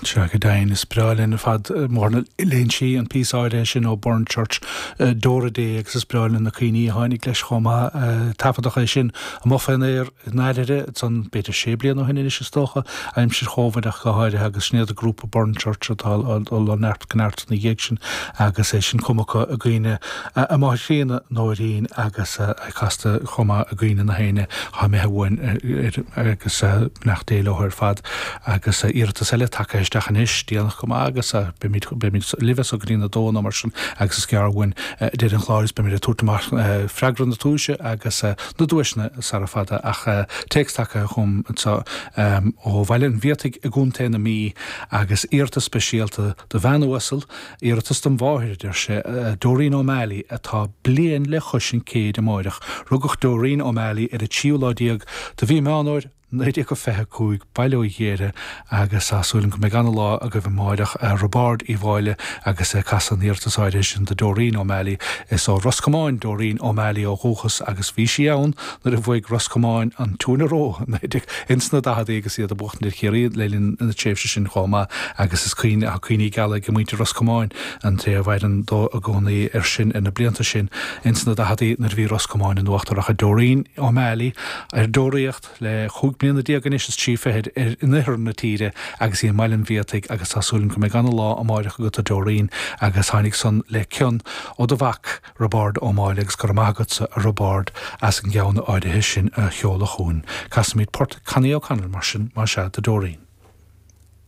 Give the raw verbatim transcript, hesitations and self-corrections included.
Sea, go deimhin, is breá linn ar fad mar a léann sí an píosa áirithe sin ó Burnchurch, Deora Dé agus is breá linn na cuimhní a tháinig leis chomh maith. Taifeadadh é sin amuigh fén aer i ndáiríre ansan b'fhéidir sé bliana ó shin anois is dócha, aimsir Chóvid ach go háirithe agus sin iad an grúpa Burnchurch atá ag dul ó neart go neart ina dhiaidh sin agus é sin cumtha acu i gcuimhne a máthair chríonna Nóirín agus casta chomh maith i gcuimhne na héinne atá imithe uainn agus beannacht Dé leo ar fad agus iarratas eile tagtha isteach anois, déanach go maith agus beimid beimid libh as go dtí a dó nó mar sin agus is gearr uainn deireadh an chláir is beimid ag tabhairt amach freagra na tomhaise agus na duaiseanna sara fada ach téacs tagtha chugam anseo ó Bhaile an Bhiataigh i gContae na Mí agus iarratas speisialta do bhean uasal, iarratas dom mháthair, a deir sé, Doreen O'Malley atá bliain le chois an chéid amáireach. Rugadh Doreen O'Malley ar an tríú lá déag de mhí Meán Fhómhair, naoi déag a fiche a cúig, Baile Uí Ghéire, agus tá súil agam go mbeidh ana-lá agaibh amáireach, Roibeárd Uí Mháille agus é ag casadh an iarratas áirithe sin do Doreen O'Malley. Is ó Ros Comáin Doreen O'Malley ó dhúchas agus bhí sí ann nuair a bhuaigh Ros Comáin an Two in a Row ins na daicheadaí agus iad ag buachtaint ar Chiarraí le linn na tréimhse sin chomh maith agus is cuimhne, tá cuimhní geala ag muintir Ros Comáin, an té a mhaireann dó i gcónaí air sin ar na blianta sin ins na daicheadaí nuair a bhí Ros Comáin in uachtar ach Doreen O'Malley ar deoraíocht le chúig bliana déag anois is trí fichid in oirthear na tíre agus í i mBaile an Bhiataigh agus tá súil agam go mbeidh ana-lá amáireach agat a Doreen agus tháinig san le cion ó do mhac Roibeárd Ó Máille agus go raibh maith agatsa a Roibeárd as an gceann áirithe sin a sheoladh chugainn. Casfaimid port Connie O'Connell mar sin, más ea, do Doreen.